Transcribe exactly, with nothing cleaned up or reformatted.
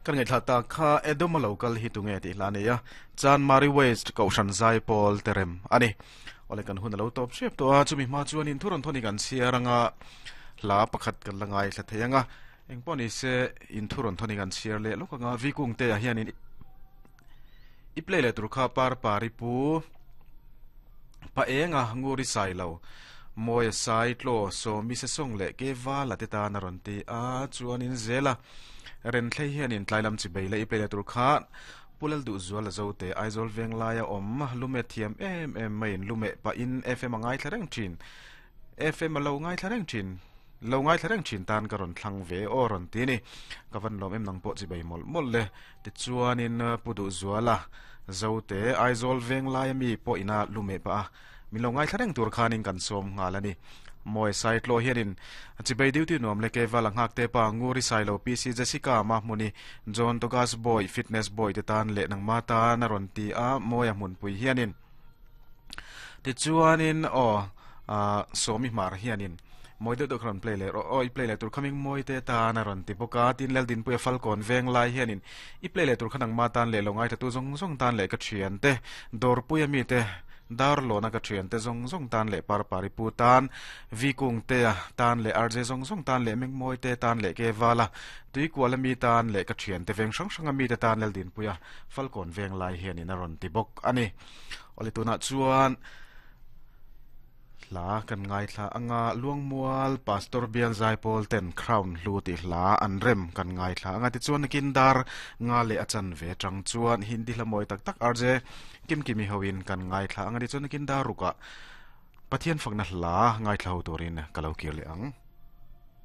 Kan ngai thla ta kha Edoma local hi tunge ti hla nei a Chan Mari West ko shan zai pawl terem ani ole kan hun lo top shep to a chumi ma chuan in thuron thoni kan chiaranga hla pakhat kan langai thla theianga engpawh se in thuron thoni kan chiar le lokanga vikung te a hian in i play le tur kha par pari pu pa enga nguri sai lo moi sai tlo so mi se song le ke wa la te ta na ron ti a chuan in zela ren thlei hian in tlailam chi beile i play le tur kha pulal du zual zo te Aizol veng laia om lume thiam em em mai in lume pa in F M angai thlareng thin F M lo ngai thlareng thin lo ngai thlareng thin tan ka ron thlang ve o ron ti ni ka van lom em nang pawh chi bei mol mol le ti chuan in pudu zuala zo te Aizol veng laia mi pawh ina lume pa min lo ngai thlareng tur khanin kan som ngal ani moi sai tlo hianin chibei duty nuam le ke wala ngak te pa nguri sai lo P C Jessica ma muni John Togas boy fitness boy te tan le nang ma ta na ron ti a moya mun pui hianin ti chuanin o a somi mar hianin moi de kron play le o i play le tur coming moi te ta na ron ti boka tin lel din pui falcon veng lai hianin i play le tur khanang ma tan le longai ta tu zong zong tan le ka thian te dor pui ami te dar lo na ka thian te zong zong tan le par pari pu tan vi kung te a tan le R J zong zong tan le meng moi te tan le ke wala tui kwala mi tan le ka thian te veng sang sang ami te tan lel din puya falcon veng lai hianin a ron ti bok ani ole tuna chuan hla kan ngai thla anga luangmual pastor bial zai pawl ten crown hlu ti hla an rem kan ngai thla anga ti chuan kin dar nga le achan ve tang chuan hindi hla moi tak tak R J kim kimi hoin kan ngai thla anga ti chuan kin dar ruka Pathian fakna hla ngai thla ho turin kalo kir le ang.